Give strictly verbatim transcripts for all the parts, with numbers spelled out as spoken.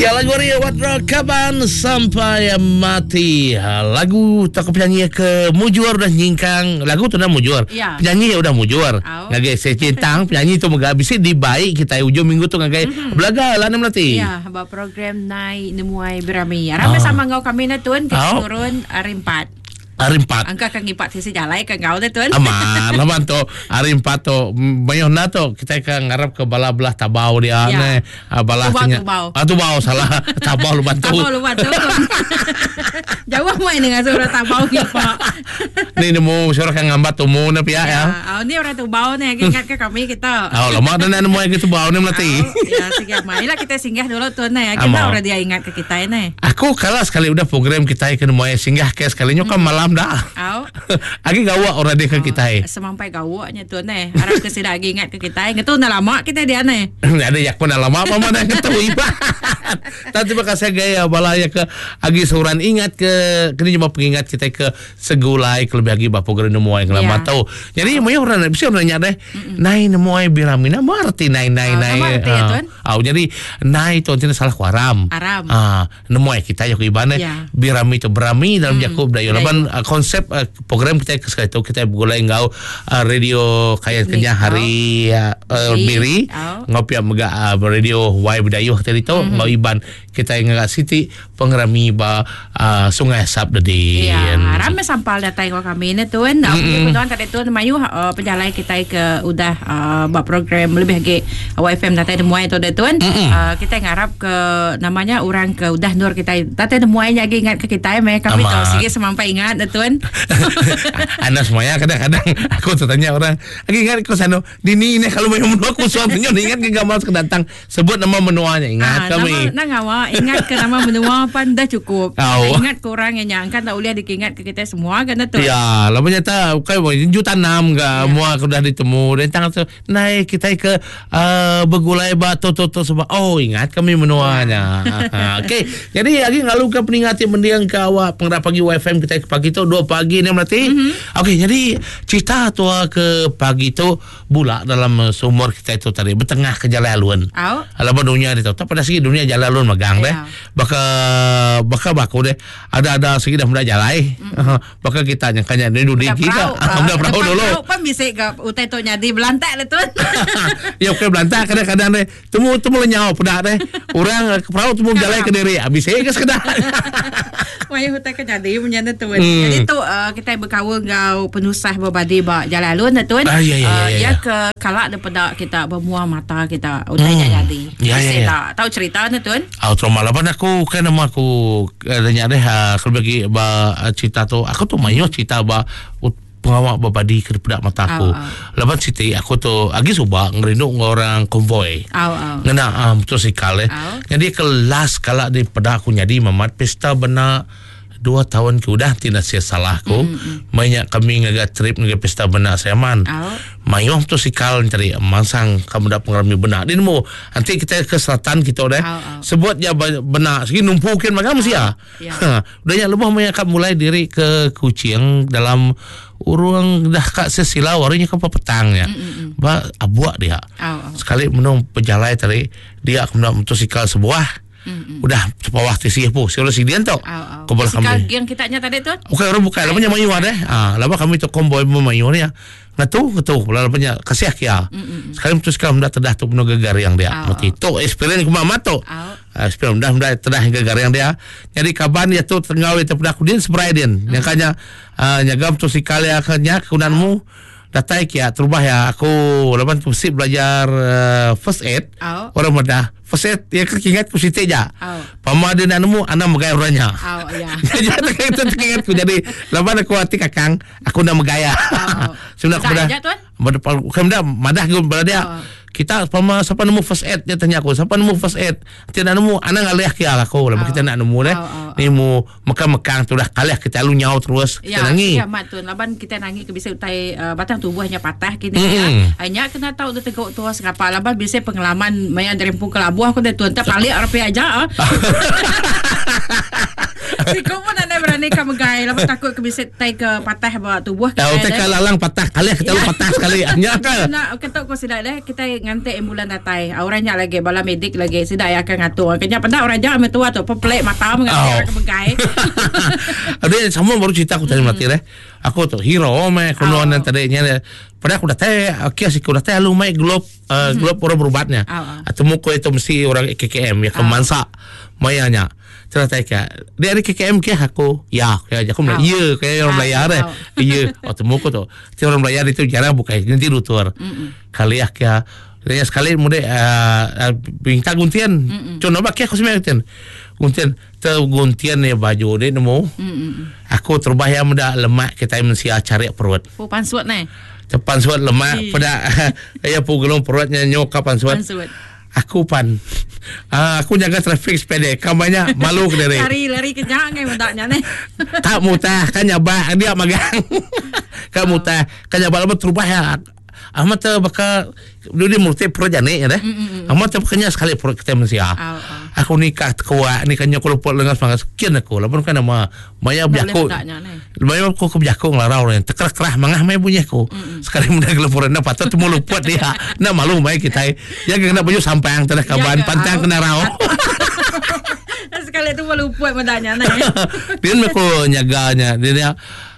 Ya, lagu ari Wat Kaban Sampai Mati. Lagu tak penyanyi ke mujur dah nyingkang. Lagu tu dah mujur. Ya. Penyanyi udah mujur. Au. Ngagai secentang penyanyi tu mega bisi dibaik kita ujung minggu tu ngagai mm-hmm. Belaga lah nem lati. Ya, ba program Nai Nemuai Berami. Ramai sama ngau kami na tuan kita Au. turun hari empat. Hari empat. Angka kang ngipak sisi jalai ke ngau na tuan. Aman, laban tu hari empat tu mayuh na tu kita ke ngarap ke bala belah tabau dia Ya. ne. Ah, bala Tubau, kenya- tubau. Ah, tubau salah. Tabau lu bantu. Tabau lu bantu. Jauh mai dengan suara tabau ngipak. Ni nemu suara kang ngambat tumu na pia ya. Ah, ni orang tubau ni ingat ke kami kita. Oh, lama dah nak nemu yang tubau ni melati. Au, ya, singgah marilah kita singgah dulu tuan ni. Kita Amau. orang dia ingat ke kita ni. Aku kalah sekali udah program kita ke nemu singgah ke sekali nyo kan malam dah. Au. Agi gawak orang dia ke kita. eh. Semampai gawaknya tuan ni. Harap ke sida lagi ingat ke kita. Ngetu dah lama kita dia ni. Ada yak pun dah lama apa mana ketemu ibat. Tapi terima kasih gaya balaya ke agi seorang ingat ke kini cuma pengingat kita ke segulai ke lebih agi ba program nemu yang lama Ya. tau. Jadi mau orang bisa orang nanya deh. Nai nemu ai birami nama arti nai nai Ah, nai. nama arti ya, Tuan? Ah, jadi nai tu tidak salah ku aram. Aram. Ah, nemu ai kita yok ibane Ya. birami tu berami dalam Jakub Dayo. Dayo. Laban ah, konsep ah, program kita ke sekali tu kita bergulai ngau ah, radio kaya kenyah hari ah, ah, Miri. Miri Au. ngopi mega uh, radio Y Bidayuh tadi tu mm-hmm. ngau Iban kita ngagak siti pengerami ba uh, Sungai Asap dedin. Ya, ramai sampal datang ke kami ni tuan. Mm -hmm. Tuan tadi tuan mayu uh, penjalai kita ke udah uh, buat program lebih lagi Y F M datang temuai tu dah tuan. Mm -hmm. uh, kita ngarap ke namanya orang ke udah nur kita datang temuai lagi ingat ke kita meh kami Amat. tahu sikit semampai ingat dah tuan. Anda semuanya kadang-kadang aku tertanya orang, "Lagi ingat aku sano dini ini kalau mau menua aku suaminya ingat ke gambar datang sebut nama menuanya ingat Ah, kami." Nama, nak ngawa, ingat ke nama menua pan dah cukup. Au. Ingat ke orang yang nyangka tak boleh diingat ke kita semua kan dah tu. Ya, lama nyata bukan mau juta enam ke Ya. mua aku dah ditemu dan tangan tu naik kita ke uh, bergulai batu tu tu sebab oh ingat kami menuanya. Ya. Okey, jadi lagi ngalu ke peningati mendiang ke awak pengerap pagi Y F M kita ke pagi tu dua pagi ni melati. Mhm. Okey, jadi cerita tua ke pagi tu bulak dalam uh, sumur kita itu tadi bertengah ke jalan alun. Au. Alamak dunia dia tahu. Tak pada segi dunia jalan alun magang deh. Ya. Baka baka baku deh. Ada ada segi dah mula jalai. Mm. Baka kita nyangkanya ni dudi Dah kita. perahu. Ah, Dah perahu Depan dulu. Perahu pan bisa ke utai tu nyadi belantak lah tuan. Ya okey belantak kadang-kadang deh. Temu temu lenyau pedak deh. Orang eh, ke perahu temu berjalan ke diri. Habis saya ke sekedar. Maya hutan ke jadi punya tu tuan. Hmm. Jadi tu uh, kita berkawan ngau penusah berbadi ba jalan alun dah tuan. Ah, ya, ya, Uh, ya, ya. ya ke kalak daripada kita bermuar mata kita utai Hmm. jadi. Ya, ya, Bisa ya. tak tahu cerita dah tuan. Ah, trauma laban aku kan nama aku eh, tanya deh ah, kalau bagi ba ah, cerita tu aku tu mayu cerita ba ut- pengawak berbadi ke pedak mata aku. Ah, ah. Laban siti aku tu agi subak ngerinduk dengan orang konvoi. Au au. Ngena uh, motosikal eh. Au. Jadi kelas kalak di pedak aku jadi mamat pesta benak dua tahun ke udah tidak sia salah aku. Mm-hmm. Banyak kami ngaga trip ngaga pesta benak saya man. Au. Mayuh motosikal cari mansang kamu dah pengarami benak. Dia nemu nanti kita ke selatan kita deh. Au, au. Sebut je ba- benak segi numpukin makan mesti ya. Ya. Ha, udah nya lebih banyak kat mulai diri ke Kuching dalam urang dah kat sesila warinya ke petang ya. Ba abuak dia. Au au. Sekali menung pejalai tadi dia aku nak motosikal sebuah. Mm-mm. Udah sepawah tisi pu, si si dia tu. Au au. Kebal Sikal kami. yang kita nya tadi tuan. Bukan orang bukan, lamanya mayu ada. Ah, lama kami tu konvoi memayu ni ya. Ngatu ngatu, lamanya kasih kia. Sekali motosikal mendak tedah tu penuh gegar yang dia. Au, Mati tu experience ku mamat tu. Au. Ah, experience dah mendak tedah gegar yang dia. Jadi kaban dia tu tengau itu pedah aku dia seberai dia. Yang kanya ah, nyagam motosikal ya kanya kunanmu datai kia terubah ya aku lapan tu mesti belajar uh, first aid. Au. Orang muda first aid ya ingat ku siti ja. Au. Pama dia nak nemu anak megai orangnya. Au ya. Jadi itu teringat ku jadi laban aku hati kakang aku nak megaya. Au. Sebenarnya aku Tak dah. aja, tuan? Madah dah madah aku pada dia. Au. Kita pama siapa nemu first aid dia tanya aku siapa nemu first aid. Kita nak nemu anak ngalih kia aku laban Au. kita nak nemu deh. Au, au, Ni mu mekang-mekang tu dah kalih kita lu nyau terus kita Ya, nangi. ya mat tuan. Laban kita nangi ke bisa utai uh, batang tubuhnya patah kini Mm-mm. ya. Hanya kena tahu dia teguk tua sekapa laban bisa pengalaman maya dari pukul abuh aku dah tuan tak balik rapi aja. ah. Si kau pun ada berani Berani ka megai laban takut ke bisi tai ke patah ba tubuh kita. Tau ke lalang patah kali kita lu patah sekali. Nya ka. Nak ketuk ko sida deh kita nganti ambulan datai. Orang nya lagi bala medik lagi sida yang akan ngatur. Kenya peda orang ja ame tua tu pepelek mata menganti orang ke megai. Ada sama baru cerita aku tadi mati deh. Aku tu hero meh konon oh. Tadi nya pada aku datai okey siku datai lalu mai globe uh, globe orang berubatnya. Atau muka itu mesti orang K K M ya ke mansa maya nya. Cerita ke dia dari K K M ke aku ya ya aku Melayu ya kayak orang Melayu deh ya oh temu aku tu ti orang Melayu itu jarang buka nanti lutur kali ya ke dia sekali muda minta guntian contoh bak aku sebenarnya guntian guntian terguntian ya baju dia nemu aku terbah yang muda lemak kita manusia cari perut oh pansuat nih terpansuat lemak pada ya pugelung perutnya nyokap pansuat aku pan uh, aku jaga trafik sepeda kan banyak malu ke diri lari-lari kenyang ngai mendaknya ni tak mutah kan nyabak dia magang kan mutah kan nyabak lepas terubah ya Ahmad tu bakal dia murti perut jani ya deh Ahmad tu kenya sekali perut kita manusia aku nikah kuat ni kan aku lupa lengan semangat sekian aku lapan kan nama maya biaku maya aku ke biaku ngelarau orang tekerah-kerah mangah maya bunyi aku sekali muda gelepur na patut temu luput dia na malu maya kita ya kena baju sampang telah kaban pantang kena rau sekali tu malu luput mendanya ni dia aku nyaganya dia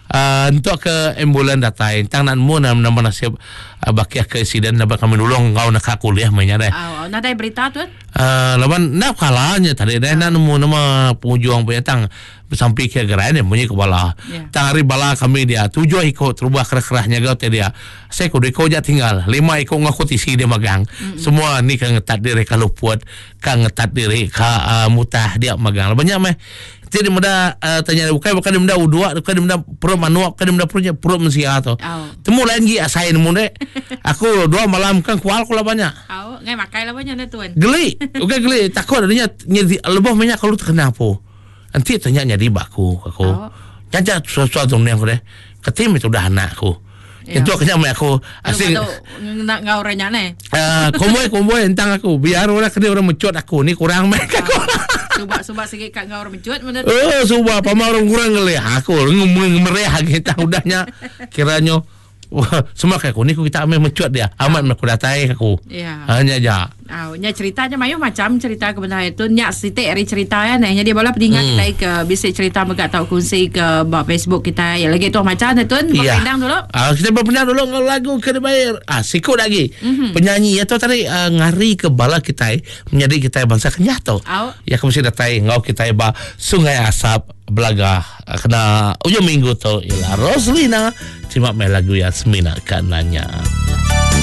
Uh, untuk ke ambulan datai tang nak mu nama nama nasib uh, bakiah ke insiden dapat kami nulung kau nak kuliah mainnya deh. Oh, nadai berita tu? Uh, lawan nak kalanya tadi deh nak nemu nama pengujuang punya tang sampai ke gerai ni bunyi kepala. Yeah. Tang hari bala kami dia tujuh ikut terubah kerah-kerahnya gau dia. Saya kudu ikut je tinggal lima ikut ngaku tisi dia magang. Mm-hmm. Semua ni kan ngetat diri kalau puat kan ngetat diri ka uh, mutah dia magang. Banyak meh. Jadi muda uh, tanya bukan bukan dia muda udua bukan dia muda perut manuak bukan dia muda perutnya perut manusia tu. Oh. Temu lain gi asai nemu dek. Aku dua malam kan kual ku lah banyak. Oh, ngai makai lah banyak dah tuan. Geli, okey geli takut adanya lebih banyak kalau terkena apa. Nanti tanya jadi baku aku. Oh. Jangan sesuatu ni aku deh. Ketim itu dah anak aku. Ya. Itu kena mai aku asing nak ngau orangnya ni. Eh, komboy-komboy entang aku biar orang kena orang mecut aku ni kurang mai aku. Subak-subak sikit kat ngau orang mecut mana. Eh, subak pama orang kurang ngelih aku ngemereh kita udahnya kiranya wah, semua kayak aku ni kita ambil mecut dia. Amat aku datai aku. Ya. Hanya aja. Ah, nya ceritanya mayu macam cerita kebenaran itu nya sitik hari cerita ya nah. Jadi bola pendingan hmm. kita ke bisik cerita megak tau kongsi ke bab Facebook kita. Ya lagi tu macam tu tuan ya. Berpendang dulu. Ah, kita berpendang dulu ngau lagu kena bayar. Ah, sikut lagi. Mm-hmm. Penyanyi ya tu tadi uh, ngari ke bala kita menjadi kita bangsa kenyah tu. Oh. Ya aku mesti datai ngau kita ba Sungai Asap Belaga kena ujung minggu tu ialah Roslina. Terima main lagu Yasmina kananya.